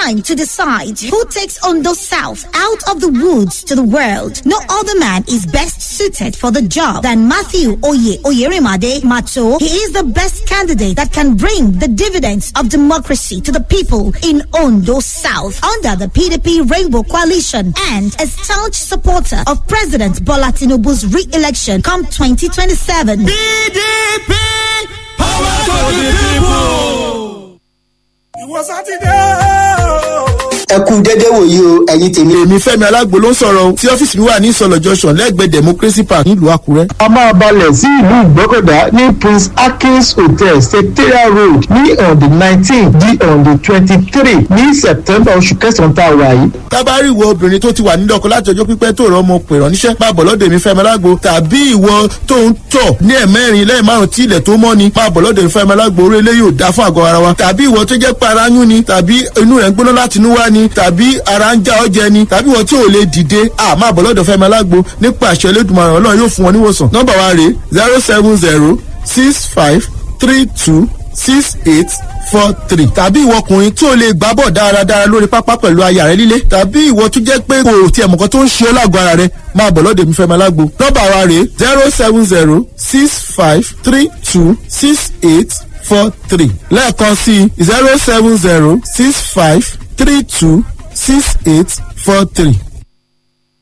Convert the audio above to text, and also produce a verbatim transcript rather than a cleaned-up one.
time to decide who takes Ondo South out of the woods to the world. No other man is best suited for the job than Matthew Oye Oyerimade Mato. He is the best candidate that can bring the dividends of democracy to the people in Ondo South under the P D P Rainbow Coalition and a staunch supporter of President Bola Tinubu's re-election come twenty twenty-seven. P D P, power to the people. Ìwọ Sátidé o. Ẹ kú dédé wòye o, ẹ̀yin tèmi. Èmi Fẹ́mi Alágbo ló ń sọ̀rọ̀ o, tí ọ́fíìsì mi wà ní Ìsọ̀lọ̀ Junction lẹ́gbẹ̀ẹ́ Democracy Park nílùú Àkúrẹ́. A máa balẹ̀ sí ìlú Ìgbọ́kọ̀dá ní Prince Akins Hotel, Secretariat Road, ní on the nineteen di on the twenty-three ní September, oṣù kẹsàn-án tá a wà yìí. Tábàárì ìwọ obìnrin tó ti wà nílé ọkọ láti ọjọ́ pípẹ́ tó rọ ọmọ pè ránníṣẹ́, máa bọ̀ lọ́dọ̀ èmi Fẹ́mi Alágbo, tàbí ìwọ tó ń tọ̀ ní ẹ̀mẹ́rin lẹ́yìn márùn-ún tí ilẹ̀ tó mọ́ ni, máa bọ̀ lọ́dọ̀ èmi Fẹ́mi Alágbo. Orí eléyìí ò dá fún àgọ́ ara wa. Tàbí ìwọ tó jẹ́ pé ara ń yún ni, tàbí inú rẹ̀ ń gbóná láti inú wá ni, tàbí ara ń já ọ jẹ ni, tàbí ìwọ tí ò lè dìde, à máa bọ̀ lọ́dọ̀ Fẹ́mi Alágbo. Nípa àṣẹ Elédùmarè, Ọlọ́run yóò fún wọn níwòsàn. Nọ́mbà wa rèé: zero seven zero six five three two six eight four three. Tàbí ìwọ ọkùnrin tí o lè gbá bọ̀ dáradára lórí pápá pẹ̀lú aya rẹ líle, tàbí ìwọ tó jẹ́ pé kò tiẹ̀ mọ̀kan tó ń ṣe ọ́ lágọ̀ọ́ ara rẹ, máa bọ̀ lọ́dọ̀ èmi Fẹ́mi Alágbo. Nọ́mbà wa rèé: zero seven zero six five three two six eight four three. Lẹ́ẹ̀kan sí: zero seven zero six five three two six eight four three.